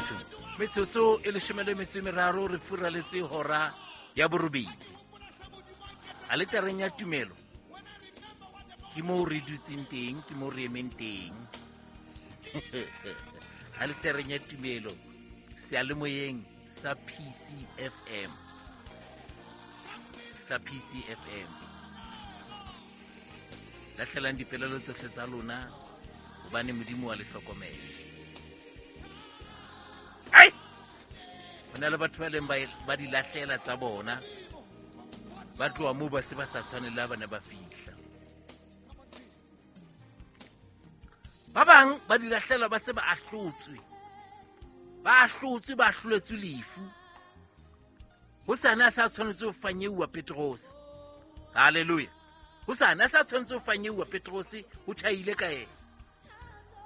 Bathong, metsotso e leshome le metso e meraro re furaletse hora ya borobedi. Aletareng ya tumelo ke moo re dutseng teng, ke moo re emeng teng. Aletareng ya tumelo, seyalemoyeng sa PCFM, sa PCFM. Lahlelang dipelaelo tsohle tsa lona hobane Modimo wa le hlokomela. Ai! Ho na le batho ba leng ba di lahlela tsa bona, ba tloha moo ba se ba sa tshwane le ha ba ne ba fihla. Ba bang ba di lahlela ba se ba ahlotswe, ba ahlotswe, ba ahloletswe lefu. Ho sane a sa tshwanetse ho fanyeuwa Petrose. Hallelujah. Ho sane a sa tshwanetse ho fanyeuwa Petrose, ho tjhaile ka yena.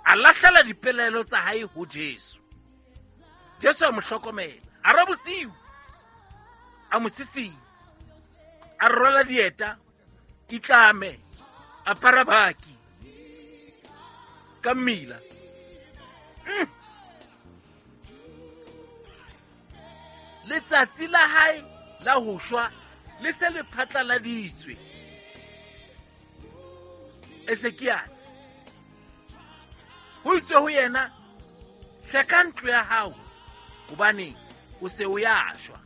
A lahlela dipelaelo tsa hae ho Jesu. Jesu a mo hlokomela. Hara bosiu a mo sisinya, a rwala dieta, itlame, apara baki ka mmila. Letsatsi la hae la ho shwa le se le phatlaladitswe. Ezekiase ho itswe ho yena, hleka ntlo ya hao hobane o se o ya shwa.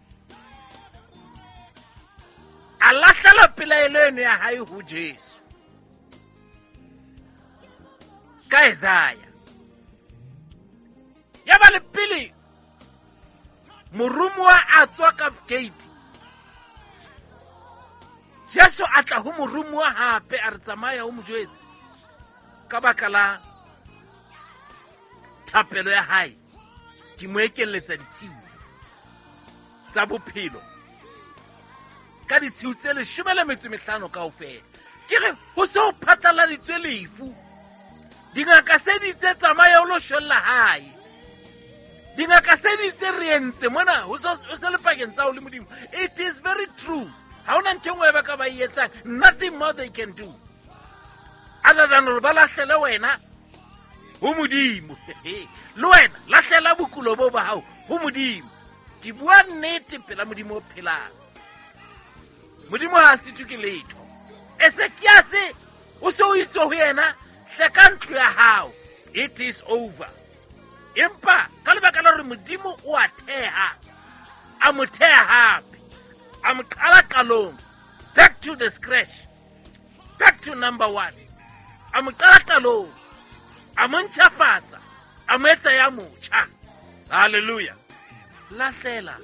A lahlela pelaelo eno ya hae ho Jesu ka Isaya. Ya ba le pele moromuwa a tswa ka gate, Jesu a tla ho moromuwa hape a re tsamaya o mo jwetse ka baka la thapelo ya hae ke mo ekelletsa ditshiu tsa bophelo ka ditshiu tse leshome le metso mehlano kaofela. Ke re ho se ho phatlaladitswe lefu, dingaka se di itse tsamaya o lo shwella hae, dingaka se di itse re entse mona ho se le pakeng tsa ho le Modimo. It is very true. Ha hona ntho e nngwe ba ka ba e etsang, nothing more they can do other than hore ba lahlele wena ho Modimo. Le wena lahlela bokulo bo ba hao ho Modimo. Ke bua nnete pela Modimo o phelang. Modimo ha a sitwe ke letho. Ezekiase o se o itse ho yena, hleka ntlo ya hao, it is over. Empa ka lebaka la hore Modimo o a theha, a mo theha hape, a mo qala qalong, back to the scratch, back to number one. A mo qala qalong, a mo ntjhafatsa, a mo etsa ya motjha. Hallelujah. Lahlela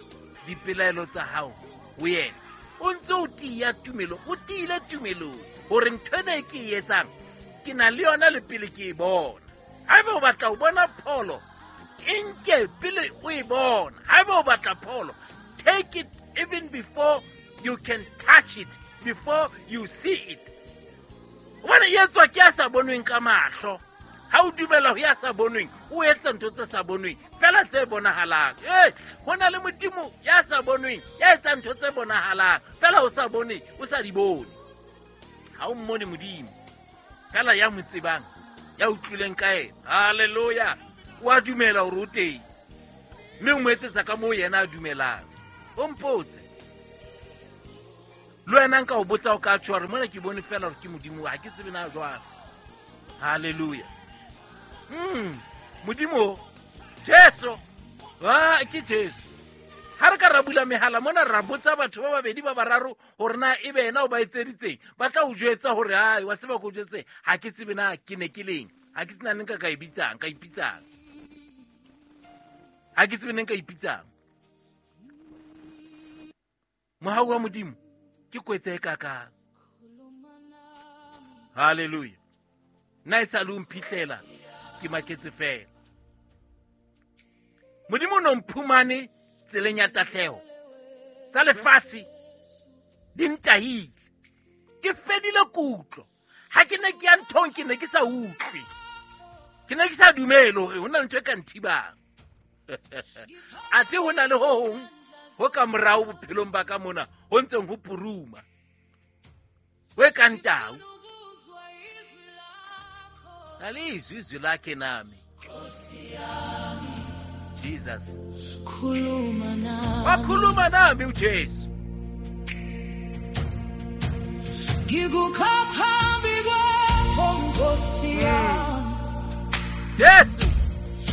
dipelaelo tsa hao ho yena. O ntse o tiya tumelong, o tiile tumelong hore ntho ena e ke e etsang ke na le yona le pele ke e bona. Haeba o batla ho bona pholo, e nke pele o e bona. Haeba o batla pholo, take it even before you can touch it, before you see it. Hobane e etswa ke ya sa bonweng ka mahlo. Ha o dumela ho ya sa bonweng, o etsa ntho tse sa bonweng fela tse bonahalang. Ho na le Modimo ya sa bonweng ya etsang ntho tse bonahalang fela o sa bone, o sa di bone. Ha o mmone Modimo fela ya mo tsebang, ya utlwileng ka yena. Hallelujah. O a dumela hore o teng, mme o mo etsetsa ka moo yena a dumelang. O mpotse le wena nka o botsa o ka tjho hore mona ke bone fela hore ke Modimo, ha ke tsebe na jwang. Hallelujah. Modimo Jesu, ke Jesu. Ha re ka ra bula mehala mona ra botsa batho ba babedi ba bararo hore na ebe yena o ba etseditseng, ba tla o jwetsa hore hai wa tseba ko jwetse, ha ke tsebe na ke ne ke leng, ha ke tsena neng ka e bitsang, ka ipitsang, ha ke tsebe neng ka ipitsang. Mohau wa Modimo ke kwetse e kakang. Hallelujah. Nna e sa le o mphihlela ke maketse fela. Modimo o no mphumane tseleng ya tahleho, tsa lefatshe di ntahile, ke fedile kutlo. Ha ke ne ke ya nthong ke ne ke sa utlwe, ke ne ke sa dumele hore ho na le ntho e ka nthibang. Athe ho na le ho hong ho ka morao bophelong ba ka mona ho ntseng ho puruma, ho e kang tau. Alizwi izwi lakhe nami. Jesus. Khuluma nami. Wakhuluma nami uJesu. Ngikukhaphambi kwakho Nkosi yami. Jesu.